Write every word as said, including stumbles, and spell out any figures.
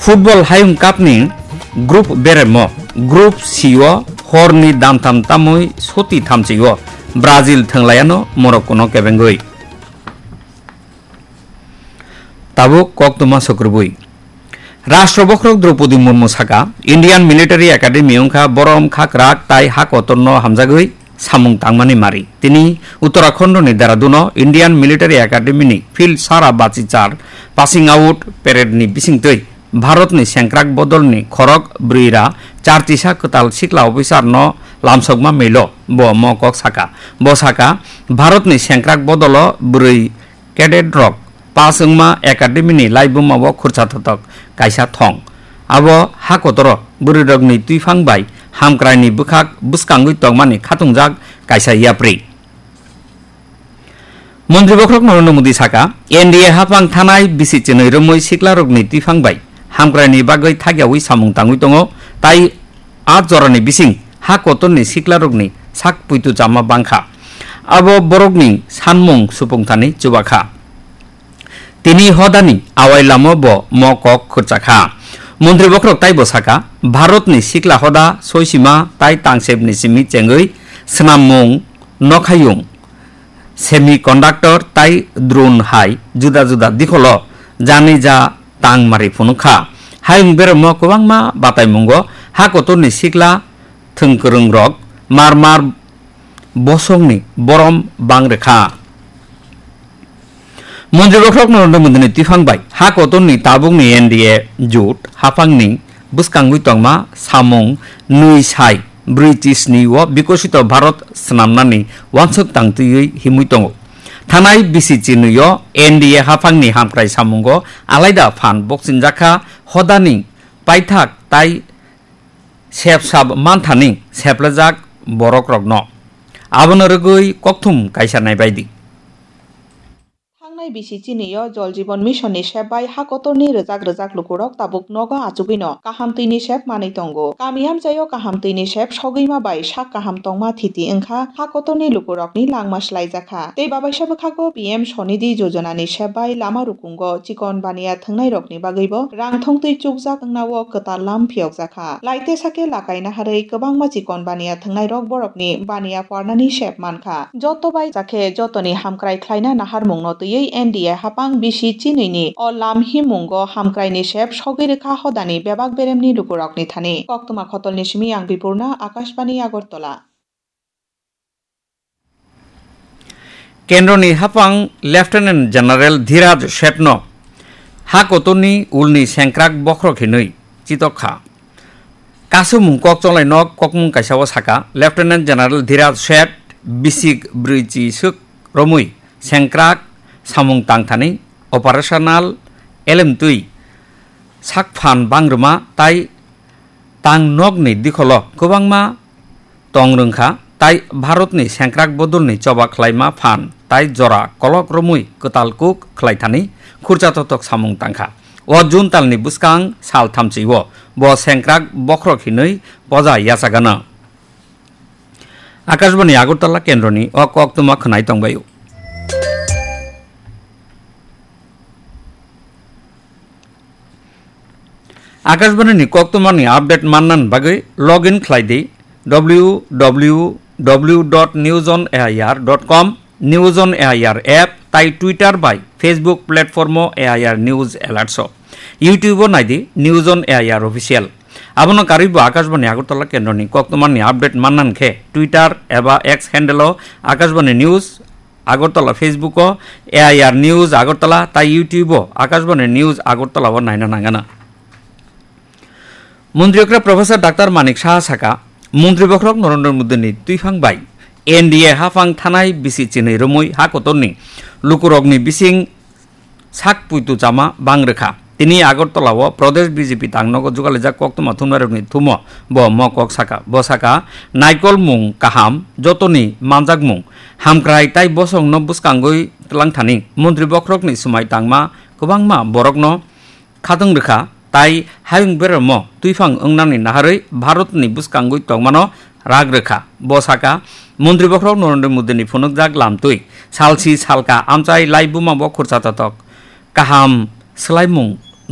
Football Hayung Cup ni group beremo, Group C o horni damtham tamwi soti thamchi o Brazil thwnglaiano Morocco no kebengwi. Tabuk koktwma sukrubwi. Rashtra bokhorok Draupadi Murmu saka, Indian Military Academy wngkha borom khakrak tai ha kotorno hamjagwi samung tangmani mari. Tini Uttarakhand ni Dehradun o Indian Military Academy ni Field Sara Bachichar Passing Out Parade ni bisingtwi Bharat ni sengkrak bodol ni khorok bwrwi ra chartisa kwtal sikla officer no lamsokma milo bo mo kok saka. Bo saka, Bharat ni sengkrak bodol o bwrwi cadet rok pass wngma academy ni laibuma o khursa thothok kaisa thong. Abo ha kotoro bwrwi rok ni twiphang bai hamkrai ni bwkhak bwskangwi tongmani khatungjak kaisa yapri. Montri bokhorok Narendra Modi saka, N D A haphang thanai bisi chinwi romwi sikla rok ni twiphang bai hamkrai ni bagwi thagiawi samung tangwi tongo, tai a jorani bising ha kotorni siklarokni sak puitu chama bangkha. Abo borokni sanmung supungthani chubakha. Tini hodani awai lamo bo mo kok khurchakha. Montri bokhorok taibo saka, Bharatni sikla hoda soisima tai tangsepni simi chengwi swnammung, nokhayung, semiconductor tai drone hai juda juda dikholo jani ja tang mari phunukha. Hayung beremo kwbangma bataimungo ha kotorni sikla thwngkwrwngrok mar mar bosongni borom bang rwkha. Montri bokhorok Narendra Modini twiphang bai ha kotorni tabukni N D A jut haphangni bwskangwi tongma samung nwi sai british ni o Bikosito Bharat swnamnani wansuk tangtwiwi himwi tongo. Thanai bisi chinwi o N D A haphangni hamkrai samungo alaida phan bokchinjakha, hodani paithak tai sepsap manthani seplajak borokrokno. Abono rwgwi kokthum kaisa naibaidi. Thangnai bisi chinwi o Jal Jeevan Mission ni sep bai ha kotorni rwjak rwjak lukurok tabuk nogo achugwino kaham twi ni sep manwi tongo. Kami amchai o kaham twi ni sep sogwima bai sak kaham tongma thiti wngkha ha kotorni lukurokni langma swlaijakha. Tei babaisa bwkhago P M Swanidhi Yojana ni sep bai lama rukungo chikon baniya thwngnairokni bagwibo rang thongtwi chukjak wngna o kwtal lam phiyokjakha. Laite sake lakai naharwi kwbangma chikon baniya thwngnairok borokni baniya pharnani sep mankha. Joto bai jakhe jotoni hamkrai khlaina naharmungno twiwi N D A haphang bisi chinwini o lam himmungo hamkraini sep sogwi rwkha hodani bebak beremni lukurokni thani. Koktwma khotolni simi ang Bipurna, Akashbani Agartala. Kendroni haphang Lieutenant General Dhiraj Shethno ha kotorni ulni sengkrak bokhorok hinwi chitokha. Kasumung kok chonglai nok kokmung kaisa o saka, Lieutenant General Dhiraj Sheth bisik brwi chi swk romwi sengkrak samung tangthani operational elemtwi sak phan bangrwma tai tang nokni dikholo kwbangma tong rwngkha, tai Bharatni sengkrak bodolni choba khlaima phan tai jora kolok romwi kwtal kuk khlaithani khurcha totok samung tangkha. O June talni bwskang sal thamchi o bo sengkrak bokhorok hinwi poja yachagana. Akashbani Agartala kendroni o koktwma khwnai tongbaio. Akashbani ni koktwmani update mannani bagwi log in khlai di W W W dot news on A I R dot com, News on A I R app tai Twitter bai Facebook platform o A I R News Alerts o. YouTube o nai di News on A I R Official. Abono karwi bo Akashbani Agartala kendroni koktwmani update mannani khe Twitter eba X handle o Akashbani News Agartala, Facebook o A I R News Agartala tai YouTube o Akashbani News Agartala o naina nangana. Montri okra Professor Doctor Manik Saha saka, Montri bokhorok Narendra Modini twiphang bai N D A haphang thanai bisi chinwi romwi ha kotorni lukurokni bising sak puitu chama bang rwkha. Tini Agartala o Pradesh B J P tangnogo jugalaijak koktwma thumnairokni thumo bo mo kok saka. Bo saka, naikolmung kaham, jotoni manjakmung, hamkrai tai bosongno bwskangwi twlangthani. Montri bokhorokni swmai tangma kwbangma borokno khatwng rwkha, tai hayung beramo twiphang wngnani naharwi Bharatni bwskangwi tongmano rak rwkha. Bo saka, Montri bokhorok Narendra Modini phunukjak lamtwi salsi salka amchai laibuma bo khurcha totok kaham swlaimung